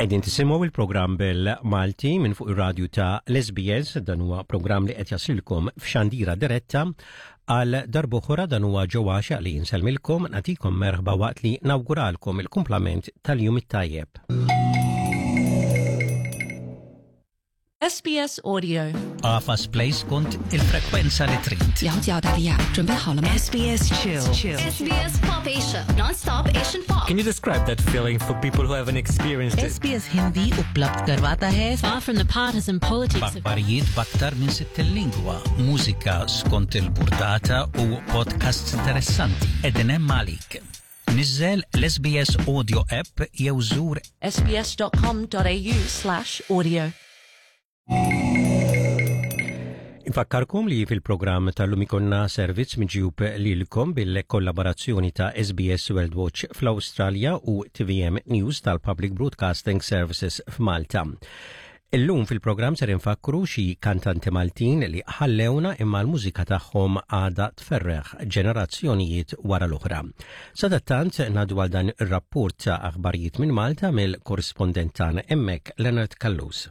Qegħdin tisimgħu il-programm bil-Malti minn fuq ir-radju ta' l-SBS, dan huwa programm li qed jaslilkom f'xandira diretta għal darb'oħra dan huwa Joe Għaxaq li nselmilkom nagħtikom merħba waqt li nawguralkom il-kumplament tal-jum it-tajjeb. SBS Audio. Għafas play skont il-frekwenza li trid. 了解澳大利亚，准备好了吗？ SBS Chill. SBS Pop Asia, non-stop Asian pop. Can you describe that feeling for people who haven't experienced it? SBS Hindi उपलब्ध करवाता है Far from the partisan politics of B'aħbarijiet b'aktar minn 60 lingwa, mużika skont il-burdata u podcasts interessanti. Qegħdin hemm għalik. Niżżel l-SBS Audio app jew żur sbs.com.au/audio. Infakkarkom li fil-programm tal-lum ikonna servizz miġjub lilkom bil-kollaborazzjoni ta' SBS World Watch fl-Awstralja u TVM News tal-Public Broadcasting Services f'Malta. Illum fil-programm ser infakkru xi kantanti Maltin li ħallewna imma l-mużika tagħhom għadha tferreħ ġenerazzjonijiet wara l-oħra. Sadattant ngħaddu għal dan ir-rapport ta' aħbarijiet minn Malta mill-korrispondent tagħna hemmhekk Leonard Callus.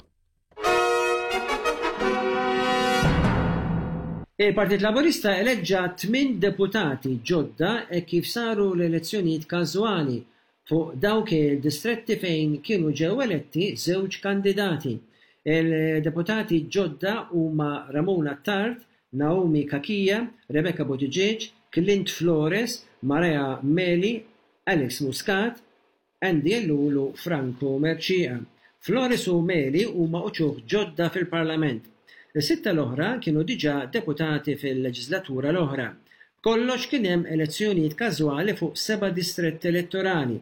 Il-Partit Laburista eleġġa tminn deputati ġodda hekk kif saru l-elezzjonijiet każwali fuq dawk il-distretti fejn kienu ġew eletti żewġ kandidati. Il-deputati ġodda huma Ramon Attard, Naomi Cachia, Rebecca Buttigieg, Clint Flores, Marea Meli, Alex Muscat, Andy Ellul u Franco Mercieca. Flores u Meli huma uċuħ ġodda fil-Parlament. Is-sitta l-oħra kienu diġà deputati fil-leġislatura l-oħra. B'kollox kien hemm elezzjonijiet każwali fuq seba' distretti elettorali.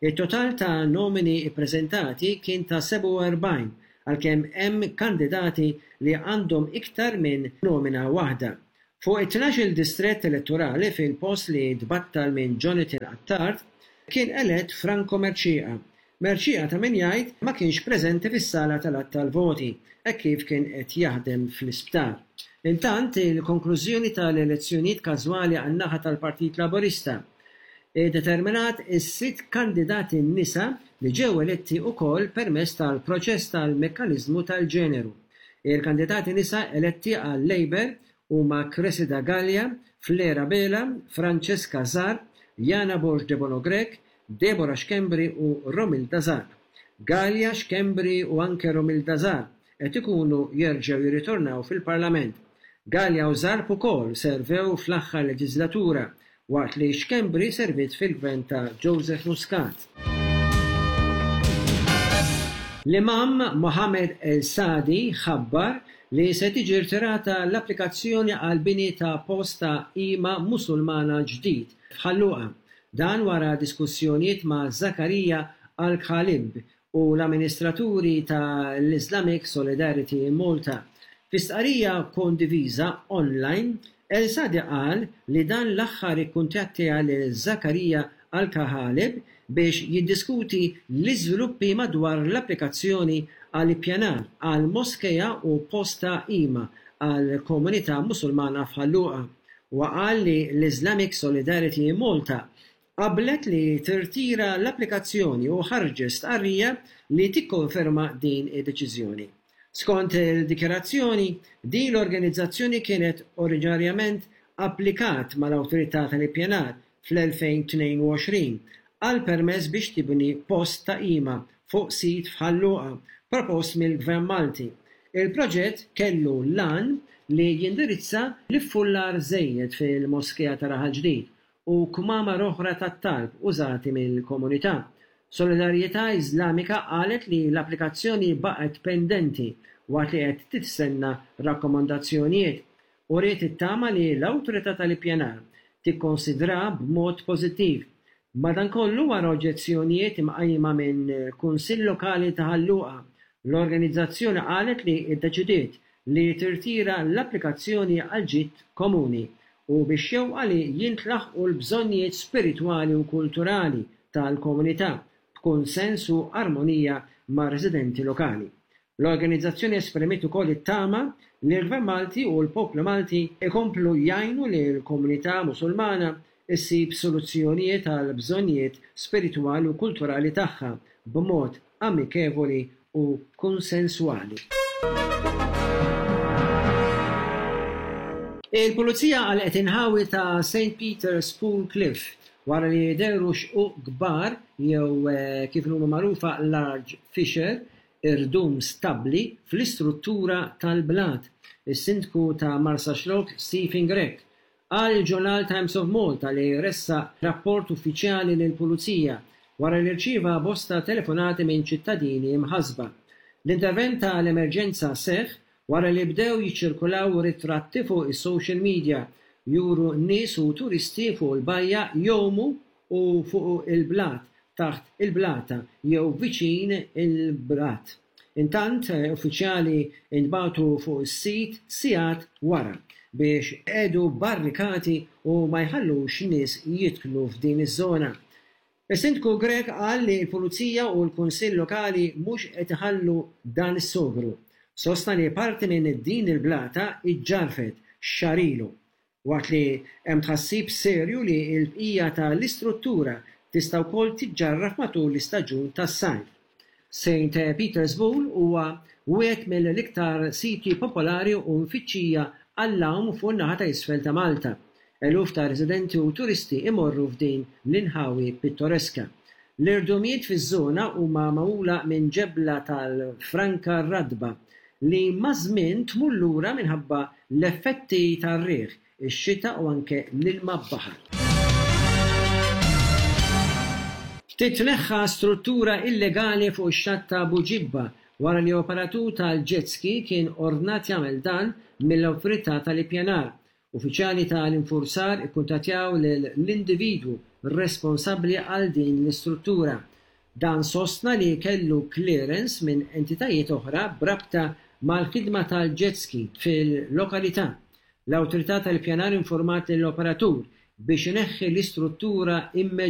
It-total ta' nomini ppreżentati kien ta' 47 għalkemm hemm kandidati li għandhom iktar minn nomina waħda. Fuq it-tnax-il distrett elettorali fil-post li tbattal minn Jonathan Attard kien elett Franco Mercieca. Mercieca ta' min jgħid ma kienx preżenti fis-sala tal-għadd tal-voti hekk kif kien qed jaħdem fl-isptar. Intant, il-konklużjoni tal-elezzjonijiet każwali għan-naħa tal-Partit Laburista ddeterminat is-sitt kandidati nisa li ġew eletti ukoll permezz tal-proċess tal-mekkaniżmu tal-ġeneru. Il-kandidati nisa eletti għal-Labour huma Cressida Galea, Fleur Abela, Francesca Zarb, Yana Borg Debono Grech, Deborah Schembri u Romilda Zarb. Galea, Schembri u anke Romilda Zarb qed ikunu jerġgħu jirritornaw fil-Parlament. Galea u Zarb ukoll servew fl-aħħar leġiżlatura waqt li Schembri serviet fil-Gvern ta' Joseph Muscat. L-Imam Mohamed El Sadi ħabbar li se tiġi rtirata l-applikazzjoni għall-bini ta' post ta' qima Musulmana ġdid f'Ħal Luqa. Dan wara diskussjonijiet ma' Zakaria Al-Khalib u l-amministraturi ta' l-Islamic Solidarity in Malta. Fi stqarrija kondiviża online, El Sadi qal li dan l-aħħar ikkuntattja lil Zakaria Al-Kahalib biex jiddiskuti l-iżviluppi madwar l-applikazzjoni għal ippjanar għal moskea u post ta' qima għall-komunità Musulmana f'Ħal Luqa. Huwa qal li l-Islamic Solidarity in Malta qablet li tirtira l-applikazzjoni u ħarġet stqarrija li tikkonferma din id-deċiżjoni. Skont il-dikjarazzjoni, din l-organizzazzjoni kienet oriġinarjament applikat mal-Awtorità tal-Ippjanar fl-2022 għal permess biex tibni post ta' qima fuq sit f'Ħal Luqa propost mill-Gvern Malti. Il-proġett kellu l-għan li jindirizza l-iffullar żejjed fil-Moskea ta' Raħal Ġdid u kmamar oħra tat-talb użati mill-komunità. Solidarjetà Iżlamika qalet li l-applikazzjoni baqgħet pendenti waqt li qed tistenna rakkomandazzjonijiet. Uriet it-tama li l-Awtorità tal-Ippjanar tikkonsidraha b'mod pożittiv. Madankollu wara oġġezzjonijiet imqajma minn Kunsill Lokali ta' Ħal Luqa, l-organizzazzjoni qalet li ddeċidiet li tirtira l-applikazzjoni għall-ġid komuni u bix-xewqa li jintlaħqu l-bżonnijiet spiritwali u kulturali tal-komunità b'kunsens u armonija mar-residenti lokali. L-organizzazzjoni esprimiet ukoll it-tama li l-Gvern Malti u l-poplu Malti jkomplu jgħinu lill-komunità Musulmana. issib soluzzjonijiet għal bżonnijiet spiritwali u kulturali tagħha b'mod amikevoli u konsenswali. Il-Pulizija għalqet inħawi ta' St Peter's Pool Cliff wara li dehru xquq kbar jew kif inhuma magħrufa large fissure, irdum stabbli, fl-istruttura tal-blat. Is-Sindku ta' Marsaxlokk Stephen Grech Qal il-ġurnal Times of Malta li ressaq rapport uffiċjali lill-Pulizija wara li rċieva bosta telefonati minn ċittadini mħassba. L-intervent ta' l-emerġenza seħħ wara li bdew jiċċirkulaw ritratti fuq is-social media juru nies u turisti fuq il-bajja jgħumu u fuq il-blat taħt il-blata jew viċin il-blat. Intant, uffiċjali ntbagħtu fuq is-sit sigħat wara biex iqiegħdu barrikati u ma jħallux nies jidħlu f'din iż-żona. Is-Sindku Grech qal li l-Pulizija u l-Kunsill Lokali mhux qed iħallu dan is-sogru. Sostna li parti minn din il-blata ġġarfet xahar ilu. Waqt li hemm tħassib serju li l-bqija ta' l-istruttura tista' wkoll tiġġarraf matul l-istaġun tas-sajf. Saint Peter's Pool huwa wieħed mill-iktar siti popolari u mfittxija għall-għawm fuq in-naħa ta' isfel ta' Malta. Eluf ta' residenti u turisti imorru f'din l-inħawi pittoreska. L-irdumijiet fiż-żona huma magħmula minn ġebla tal-franka ratba li maż-żmien tmur lura minħabba l-effetti tar-riħ, ix-xita u anke l-ilma baħar. Titneħħa struttura illegali fuq ix-xatt ta' Buġibba wara li operatur tal-jet ski kien ordnat jagħmel dan mill-Awtorità tal-Ippjanar. Uffiċjali ta' l-infurzar ikkuntattjaw lill-individwu responsabbli għal din l-istruttura. Dan sostna li kellu clearance minn entitajiet oħra b'rabta mal-ħidma tal-jet ski fil-lokalità. L-Awtorità tal-Ippjanar informat lill-operatur biex ineħħi l-istruttura immedjatament.